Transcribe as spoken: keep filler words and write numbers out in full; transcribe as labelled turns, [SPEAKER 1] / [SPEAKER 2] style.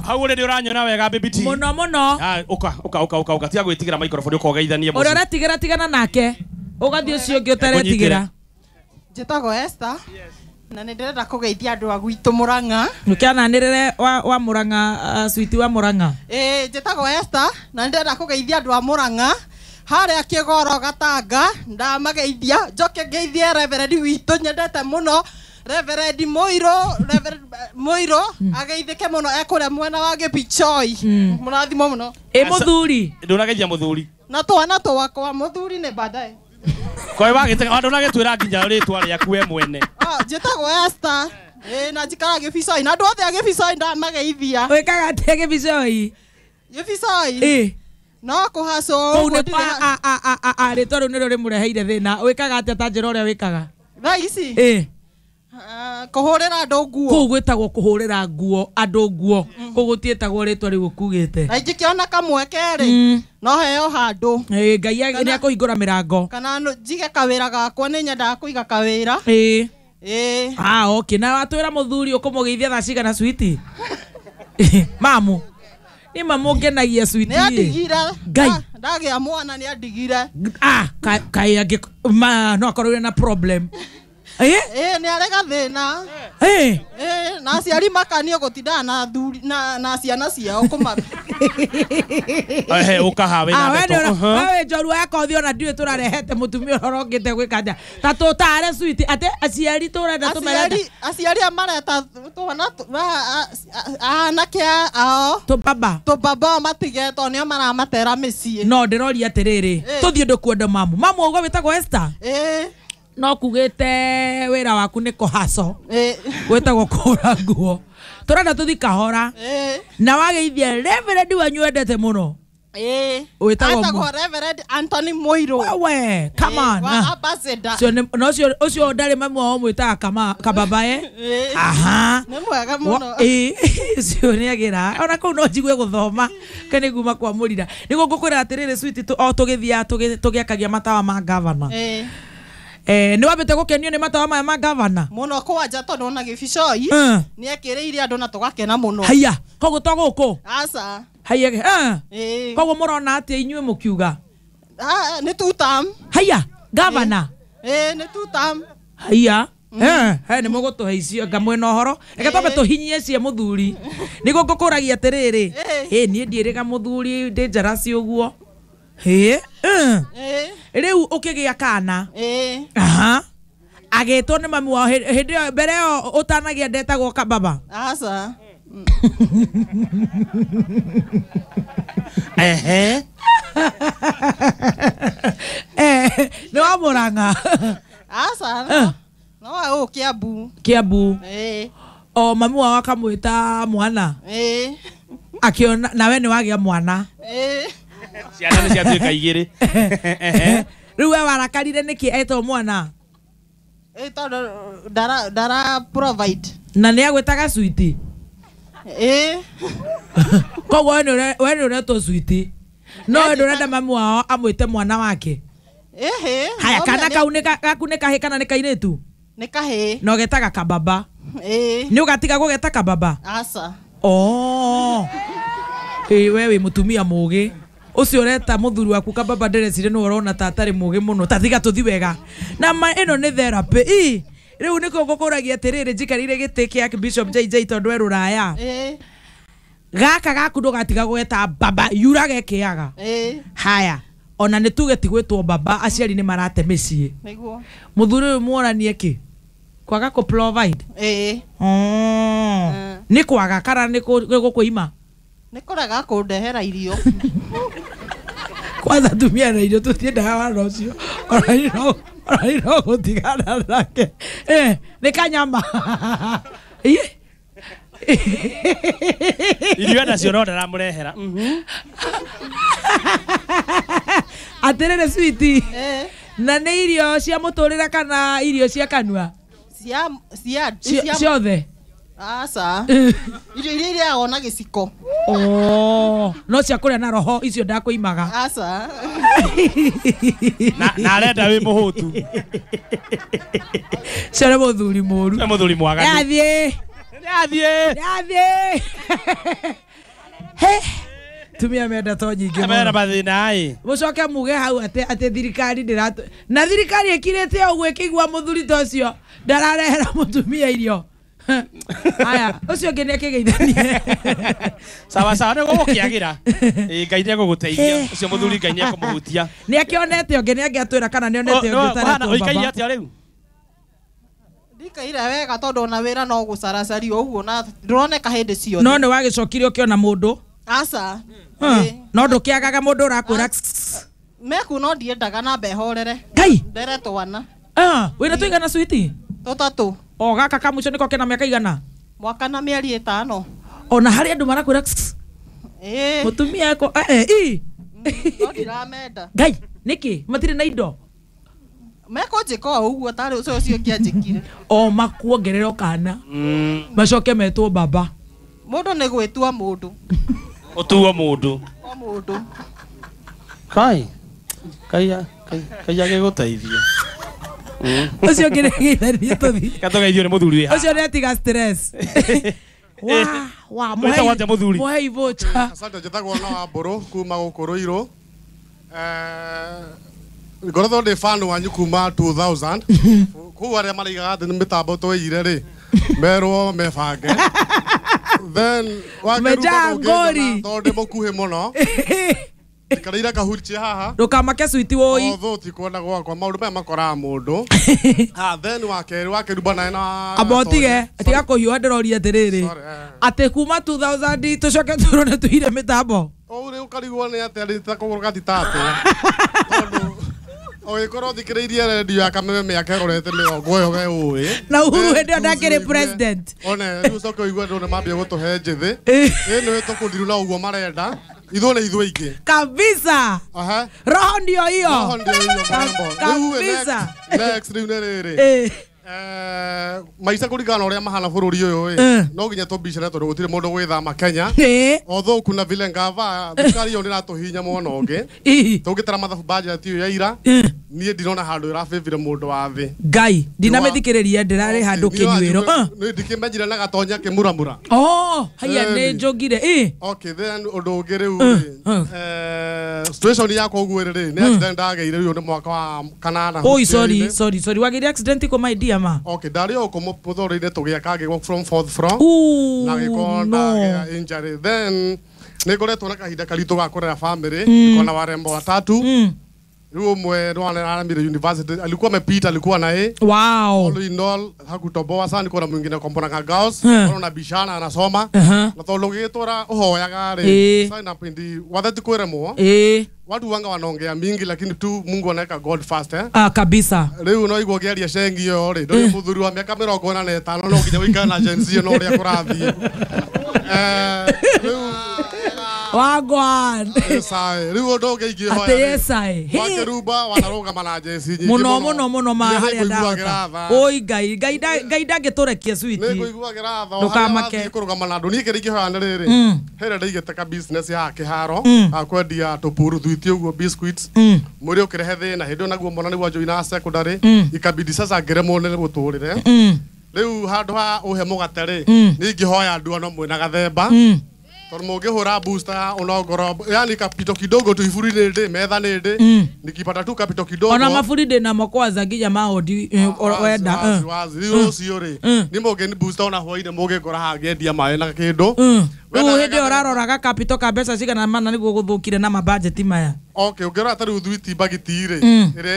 [SPEAKER 1] Hau uri uranyona wega baby T.
[SPEAKER 2] Muno muno.
[SPEAKER 1] Ah, uka uka uka uka uka tiga gwitigira microphone ukogeithanie
[SPEAKER 2] mucio. Uria uratigira tigana nake. Ugathie ucio ungi utaretigira.
[SPEAKER 3] Njitagwo Esther. Na nĩ ndĩrenda kũgeithia andũ a gwitũ Murang'a.
[SPEAKER 2] Nĩkĩananĩrĩre wa wa Murang'a uh, sweet wa Murang'a.
[SPEAKER 3] Ĩĩ njĩtagwo Esther na nĩ ndĩrenda kũgeithia andũ a Murang'a harĩa Kĩgoro Gatanga ndamageithia njoke ngeithie Reverend witũ nyendete mũno Reverend Moiro Reverend Moiro ageithĩke mũno ekũrĩa mwena wa Gĩpichoi mũrathimo mũno.
[SPEAKER 2] Ĩ mũthuri
[SPEAKER 1] ndũrageithia mũthuri
[SPEAKER 3] na twana twakwa mũthuri nĩ baadaye.
[SPEAKER 1] Kwa wagite andu nagitwira nginya ritwa riaku we mwene.
[SPEAKER 3] Ah njitagwo Esther. Eh na njikara Gĩbicoi na andu othe a Gĩbicoi ndamageithia.
[SPEAKER 2] Wikaga atia Gĩbicoi?
[SPEAKER 3] Gĩbicoi?
[SPEAKER 2] Eh.
[SPEAKER 3] No kũhacwo
[SPEAKER 2] kũu nĩ a a a a a ritwa rĩu nĩrĩo rĩmũreheire thĩna. Wikaga atia ta njĩra ũrĩa wikaga?
[SPEAKER 3] Thaa ici?
[SPEAKER 2] Eh.
[SPEAKER 3] Kũhũrĩra andũ nguo.
[SPEAKER 2] Kũu gwĩtagwo kũhũrĩra nguo andũ nguo. Kũu gũtiĩtagwo rĩtwa rĩu ũkugĩte.
[SPEAKER 3] Na ingĩkĩona kamweke rĩ no heo handũ.
[SPEAKER 2] Ĩĩ Ngai nĩ akũhingũra mĩrango.
[SPEAKER 3] Kana njige kawĩra gakwa nĩ nyendaga kũiga kawĩra.
[SPEAKER 2] Ĩĩ.
[SPEAKER 3] Ĩĩ.
[SPEAKER 2] Ah okay na watwĩra mũthuri ũkũmũgeithia thaa cigana sweetie? Mamu. Nĩ mamu ngenagia sweetie.
[SPEAKER 3] Nĩ andigire.
[SPEAKER 2] Ngai.
[SPEAKER 3] Ndagĩa mwana nĩ andigire.
[SPEAKER 2] Ah kaĩ angĩ ma no akorwo na problem. Eh?
[SPEAKER 3] Eh, nĩ arĩ gathĩna.
[SPEAKER 2] Eh.
[SPEAKER 3] Eh, na aciari makanio gũtindaga na thuri na na ciana ciao kũma.
[SPEAKER 1] Eh, ũkahawe na ndeto.
[SPEAKER 2] Wewe njorua yakwa ũthiĩ ona ndiũĩ tũrarehete mũtumia ũrĩa ũrokĩte gwĩka atĩa. Ta tũtare sweet ate aciari tũrenda tũmerenda.
[SPEAKER 3] Aciari aciari a mareta twana anake ao.
[SPEAKER 2] Tũbaba.
[SPEAKER 3] Tũbaba matige tondũ nĩo maramatera mĩciĩ.
[SPEAKER 2] No ndĩroria atĩrĩrĩ, tũthiĩ ndũkuenda mamu. Mamu ũguo wĩtagwo Esther?
[SPEAKER 3] Eh.
[SPEAKER 2] No kugite wira waku ni kũhaco gwĩtagwo kũhũra nguo tũrenda tũthi kahora na wageithia Reverend wanyu wendete mũno
[SPEAKER 3] wĩtagwo Reverend Anthony Moiro.
[SPEAKER 2] Wewe come on
[SPEAKER 3] wa ambassador
[SPEAKER 2] no ũcio ũcio ndarĩ mamu wao mwĩtaga kama kababae. Aha
[SPEAKER 3] nĩ mwega mũno.
[SPEAKER 2] Ĩĩ ũcio nĩ agĩra ona kũu no njigue gũthoma kene nguma kwa mũrira nĩguo ngũkwĩra atĩrĩrĩ sweet o tũgĩthiaga tũgĩakagia matawa ma governor. Eh, nĩ wambĩte gũkenio nĩ matawa maya ma gavana
[SPEAKER 3] mũno kwanja tondũ ona Gĩbicoi nĩ ekĩrĩire andũ na tũgakena mũno.
[SPEAKER 2] Haiya koguo to gũkũ
[SPEAKER 3] aca
[SPEAKER 2] haiya eh koguo mũrona atĩa inyuĩ mũkiuga
[SPEAKER 3] nĩ two term.
[SPEAKER 2] Haiya gavana
[SPEAKER 3] eh nĩ two term.
[SPEAKER 2] Haiya eh he nĩ mũgũtũhe icio ngamwĩna ũhoro reke twambe tũhinyie cia mũthuri nĩguo ngũkũragia atĩrĩrĩ ĩ niĩ ndiĩrĩga mũthuri ndĩ njarasi ũguo. Hĩ rĩu ũkĩgĩa kana aha agĩtwo nĩ mami wao hĩndĩ ĩyo mbere ĩyo ũtanagĩa ndetagwo kababa.
[SPEAKER 3] Aca
[SPEAKER 1] ehe
[SPEAKER 2] eh nĩ wa Murang'a.
[SPEAKER 3] Aca no wa gũkũ Kiambu.
[SPEAKER 2] Kiambu
[SPEAKER 3] ĩĩ
[SPEAKER 2] o mami wao akamwĩta mwana
[SPEAKER 3] ĩĩ
[SPEAKER 2] akiona nawe nĩ wagĩa mwana
[SPEAKER 3] ĩĩ
[SPEAKER 1] ciana nĩ ciatuĩka igĩrĩ.
[SPEAKER 2] Rĩu we warakarire nĩkĩ etwo mwana?
[SPEAKER 3] Ĩ tondũ ndara ndara provide
[SPEAKER 2] na nĩ agwĩtaga sweet.
[SPEAKER 3] Ĩ
[SPEAKER 2] koguo we nĩ ũretwo sweet no we ndũrenda mamu wao amwĩte mwana wake.
[SPEAKER 3] Ĩhĩ
[SPEAKER 2] haya kana kau nĩ gaku nĩ kahĩ kana nĩ kairĩtu?
[SPEAKER 3] Nĩ kahĩ.
[SPEAKER 2] Na ũgetaga kababa?
[SPEAKER 3] Ĩ
[SPEAKER 2] nĩ ũgatiga gũgeta kababa?
[SPEAKER 3] Aca.
[SPEAKER 2] Oh ĩ we wĩ mũtumia mũgĩ ucio ureta muthuri waku kababa ndireciria nĩ ũrona ta atarĩ mũgĩ mũno ta tiga tũthi wega na ma ĩno nĩ therapy ĩ rĩu nĩkĩo ngũkũragia atĩrĩrĩ njikarĩire gĩtĩ kĩa Bishop J J tondũ e rũraya gaka gaku ndũgatiga gweta baba yura gekĩaga haya ona nĩ tuge ti gwĩtwo baba aciari nĩ marate mĩciĩ
[SPEAKER 3] nĩguo
[SPEAKER 2] mũthuri ũyũ muonanie kĩ kwaga kũ provide
[SPEAKER 3] ĩĩ
[SPEAKER 2] nĩ kwaga kana nĩ gũkwĩima
[SPEAKER 3] nĩ kũrega kũndehera irio
[SPEAKER 2] kwanza tumia na irio tũtiendaga wana ũcio ona no gũtigana nake eh nĩ kanyama
[SPEAKER 1] irio nacio no ndaramũrehera
[SPEAKER 2] atĩrĩrĩ sweetie na nĩ irio cia mũtũrĩre kana irio cia kanua
[SPEAKER 3] cia cia
[SPEAKER 2] ciothe
[SPEAKER 3] aca irio iria irĩagwo na gĩciko.
[SPEAKER 2] Oh no cia kũrĩa na roho icio ndakũimaga.
[SPEAKER 3] Aca
[SPEAKER 1] na na arenda wĩ mũhũtu cio
[SPEAKER 2] nĩ mũthuri mũru
[SPEAKER 1] nĩ mũthuri mwaganu
[SPEAKER 2] yathiĩ
[SPEAKER 1] Nĩathiĩ.
[SPEAKER 2] Nĩathiĩ. He. Tumia menda to nyingĩ
[SPEAKER 1] Mena
[SPEAKER 2] mũno.
[SPEAKER 1] mathĩna ĩ.
[SPEAKER 2] Mũcoke muge hau atĩ atĩ thirikari ndĩratũ na thirikari ĩkirĩte ũguo ĩkĩigua mũthuri ta ũcio ndararehera mũtumia irio. Aya, ũcio ũngĩ nĩakĩgeithanie.
[SPEAKER 1] Sawa sawa nĩ gũgũkĩagĩra. Ĩ Ngai nĩegũgũteithia. Ũcio mũthuri Ngai nĩekũmũhutia.
[SPEAKER 2] Nĩakĩonete ũngĩ nĩangĩatwĩra kana nĩonete ũngĩ ũtaretwo
[SPEAKER 1] Ũikaire
[SPEAKER 2] baba.
[SPEAKER 1] atĩa rĩu?
[SPEAKER 3] Ndikaire wega tondũ ona wĩra no gũcaracario ũguo na ndũroneka hĩndĩ ciothe.
[SPEAKER 2] No nĩ wagĩcokire ũkĩona mũndũ.
[SPEAKER 3] Aca.
[SPEAKER 2] Huh. No ndũkĩagaga mũndũ ũrakwĩra
[SPEAKER 3] Meku no ndiendaga na mbehorere.
[SPEAKER 2] Ngai.
[SPEAKER 3] Ndere twana.
[SPEAKER 2] Ah, wĩna tũigana switi?
[SPEAKER 3] Tũtatũ.
[SPEAKER 2] O gaka ka mũico nĩko kena mĩaka igana?
[SPEAKER 3] Mwaka na mĩeri ĩtano.
[SPEAKER 2] Ona harĩ andũ marakwĩra
[SPEAKER 3] Ĩĩ.
[SPEAKER 2] mũtumia eko eh ĩ.
[SPEAKER 3] No ndiramenda.
[SPEAKER 2] Ngai, nĩkĩ? Matirĩ na indo.
[SPEAKER 3] Mekũnjĩka o ũguo tarĩ ũcio ũcio ũngĩ anjĩkire.
[SPEAKER 2] O makuongerera kana. Macoke metwo baba.
[SPEAKER 3] Mũndũ nĩ gwĩtua mũndũ.
[SPEAKER 1] Ũtuo mũndũ.
[SPEAKER 3] O mũndũ.
[SPEAKER 1] Kai. Kai kai kai agĩgũteithia.
[SPEAKER 2] Ũcio ũngĩ nĩageithanie tũthiĩ.
[SPEAKER 1] Gatũgeithio nĩ mũthuri wĩ haha.
[SPEAKER 2] Ũcio nĩatiga stress. Wa wa
[SPEAKER 1] Wĩtagwo atĩa mũthuri?
[SPEAKER 2] Mũhei voucher.
[SPEAKER 4] Asante, njĩtagwo na Wambũrũ kuma gũkũ Rũirũ. Eh, ngoretwo ndĩ fan wanyu kuma two thousand. Kũu arĩa maraigaga atĩ nĩ mĩtambo tũiyire rĩ, merwo mebange. Then
[SPEAKER 2] Mejaa ngori.
[SPEAKER 4] tondũ ndĩ mũkuhĩ mũno. Ndikarĩire kahurchi haha.
[SPEAKER 2] Ndũkamake switi woi.
[SPEAKER 4] Although ti kwenda gwakwa maũndũ maya makoraga mũndũ. Ah, then wa kerĩ wa kerĩ naye na
[SPEAKER 2] Amba ũtige, tiga kũhiũha ndĩroria atĩrĩrĩ.
[SPEAKER 4] Sorry, eh.
[SPEAKER 2] Atĩ kuma two thousand tũcoke tũrwo nĩ tũire mĩtambo.
[SPEAKER 4] Ũũ rĩu ũkarigwo nĩ atĩa rĩ ta kũgũrũ gatitatũ. Tondũ ũgĩkorwo thikĩrĩirie redio ya Kameme mĩaka ĩrorete mĩrongo ĩyo we ũĩ.
[SPEAKER 2] Na Uhuru
[SPEAKER 4] Then
[SPEAKER 2] hĩndĩ ĩyo ndakĩrĩ
[SPEAKER 4] ũigue-
[SPEAKER 2] president.
[SPEAKER 4] One rĩu ũcoke ũigue andũ nĩmambia gũtũhe njĩthĩ.
[SPEAKER 2] Eh.
[SPEAKER 4] Ĩ nĩ tũkũndiru na ũguo marenda. Ithuĩ nĩ ithuĩ aingĩ.
[SPEAKER 2] Kabisa.
[SPEAKER 4] Aha.
[SPEAKER 2] Roho ndio hiyo.
[SPEAKER 4] Roho ndio hiyo mũrembo. Rĩu ĩ,
[SPEAKER 2] Kabisa.
[SPEAKER 4] next- next rĩu nĩ rĩrĩ.
[SPEAKER 2] Eh.
[SPEAKER 4] Eh, maica kũringana na ũrĩa mahana bũrũri ũyũ ĩ,
[SPEAKER 2] Eh.
[SPEAKER 4] no nginya tũmbicane tondũ gũtirĩ mũndũ gwĩthama Kenya.
[SPEAKER 2] Eh.
[SPEAKER 4] Although kuna vile ngava thirikari ĩyo nĩratũhihinya mwena ũngĩ.
[SPEAKER 2] Ĩ.
[SPEAKER 4] Tũngĩtara mathabu budget ĩyo ya ira,
[SPEAKER 2] Eh.
[SPEAKER 4] niĩ ndirona handũ ĩrabĩbire mũndũ wa thĩ.
[SPEAKER 2] Ngai, ndinamĩthikĩrĩria ndĩrarĩ handũ kĩnyuĩro. Ah.
[SPEAKER 4] Nĩ ndikĩmenjire na gatonya kĩmuramura.
[SPEAKER 2] Oh, haya nĩ
[SPEAKER 4] Ĩni.
[SPEAKER 2] njũngire. Ĩ.
[SPEAKER 4] Okay, then ũndũ ũngĩ rĩu rĩ,
[SPEAKER 2] eh.
[SPEAKER 4] eh, situation yakwa ũguo ĩrĩ rĩ, nĩ accident ndagĩire rĩu nĩ mwaka wa kanana.
[SPEAKER 2] Oi, sorry, sorry, sorry. Wagĩire accident kũ my dear ma?
[SPEAKER 4] Okay, ndarĩ o kũ mũtũrĩre-inĩ tũgĩaka ngĩgwa from fourth floor.
[SPEAKER 2] Ooh,
[SPEAKER 4] Na gĩkorwo
[SPEAKER 2] no.
[SPEAKER 4] ndagĩa injury. Then nĩ ngoretwo na kahinda karitũ ga kũrera family, niko na warembo watatu.
[SPEAKER 2] Mm.
[SPEAKER 4] Rĩu ũmwe nĩ aramire university, alikuwa amepita, alikuwa na A.
[SPEAKER 2] Wow.
[SPEAKER 4] All in all, hakutoboa sana, niko na mwingine kombona girls,
[SPEAKER 2] Hmm.
[SPEAKER 4] na bishana anasoma.
[SPEAKER 2] Uh-huh.
[SPEAKER 4] Na tondũ gĩtũra ũhoyaga rĩ,
[SPEAKER 2] Ĩĩ.
[SPEAKER 4] sign up indi watheti kwĩremwo.
[SPEAKER 2] Eh.
[SPEAKER 4] Watu wanga wanaongea mingi lakini tu Mungu anaweka God first eh.
[SPEAKER 2] Ah, kabisa.
[SPEAKER 4] Rĩu no igua ngĩaria cengi ĩyo rĩ, ndũrĩ mũthuri wa mĩaka mĩrongo ĩna na ĩtano no nginya ũikare na Gen Z no ũrĩa kũrathiĩ. Eh, rĩu
[SPEAKER 2] Wagwan.
[SPEAKER 4] yes I. Rĩu ũndũ ũngĩ ingĩhoya
[SPEAKER 2] Atĩ
[SPEAKER 4] rĩ,
[SPEAKER 2] yes I. Hey.
[SPEAKER 4] Wakĩrumba wanarũgama na Gen Z nyingĩ
[SPEAKER 2] Mũno mũno mũno ma
[SPEAKER 4] Nginya
[SPEAKER 2] harĩa
[SPEAKER 4] nĩngũiguagĩra
[SPEAKER 2] ndahota.
[SPEAKER 4] tha.
[SPEAKER 2] Oi Ngai, Ngai nda- Ngai ndangĩtũrekia switi.
[SPEAKER 4] Nĩngũiguagĩra tha.
[SPEAKER 2] Ndũkamake.
[SPEAKER 4] Harĩa wathiĩ kũrũgama na andũ. Niĩ kĩrĩa ingĩhoya nĩ rĩrĩ.
[SPEAKER 2] Mm.
[SPEAKER 4] Hĩrĩa ndaigĩte ka business ya kĩharo,
[SPEAKER 2] Mm.
[SPEAKER 4] ga kwendia tũpuru thuiti ũguo biscuits.
[SPEAKER 2] Mm.
[SPEAKER 4] Mwĩrĩ ũkĩrehe thĩna hĩndĩ ĩyo naguo mwana nĩguo anjoina secondary
[SPEAKER 2] Mm.
[SPEAKER 4] ikabidi sasa ngĩremwo nĩ mũtũrĩre.
[SPEAKER 2] Mm.
[SPEAKER 4] Rĩu handũ ha ũhe mũgate rĩ,
[SPEAKER 2] Mm.
[SPEAKER 4] niĩ ingĩhoya andũ ano mwĩna gathemba.
[SPEAKER 2] Mm.
[SPEAKER 4] Tondũ mũngĩhũra booster ya onongoro yani kapito kidogo tu iburi nĩ ndĩ metha nĩ ndĩ
[SPEAKER 2] Mm.
[SPEAKER 4] nikipata tu kapito kidogo
[SPEAKER 2] Ona maburi ndĩ namo kwanza nginya maondi eh,
[SPEAKER 4] Wazi,
[SPEAKER 2] wenda.
[SPEAKER 4] wazi,
[SPEAKER 2] eh.
[SPEAKER 4] wazi. Rĩu rũciũ rĩ
[SPEAKER 2] Mm.
[SPEAKER 4] nĩ mũngĩni booster ona hwainĩ mũngĩngora haha ngĩendia maĩ na kĩndũ
[SPEAKER 2] Mm.
[SPEAKER 4] Wenda
[SPEAKER 2] Rĩu hĩndĩ ĩyo
[SPEAKER 4] gathemba.
[SPEAKER 2] ũrarora gakapito ka mbeca cigana mana nĩguo gũthũkire na mabajeti maya.
[SPEAKER 4] Okay, ũngĩrora ta rĩu thwiti mbagiti rĩ
[SPEAKER 2] Mm.
[SPEAKER 4] ĩrĩa